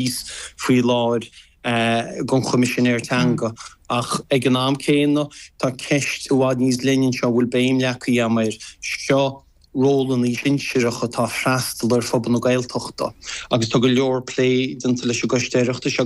Síos faoi láthair don Choimisinéir Teanga ach ag an am céanna tá ceist i bhfad níos leithne anseo a bhfuil béim leagtha agam air, seo rólanna sinsearacha atá ag freastal ar phobal na Gaeltachta agus tá go leor plé déanta leis an gCoiste Oireachtais.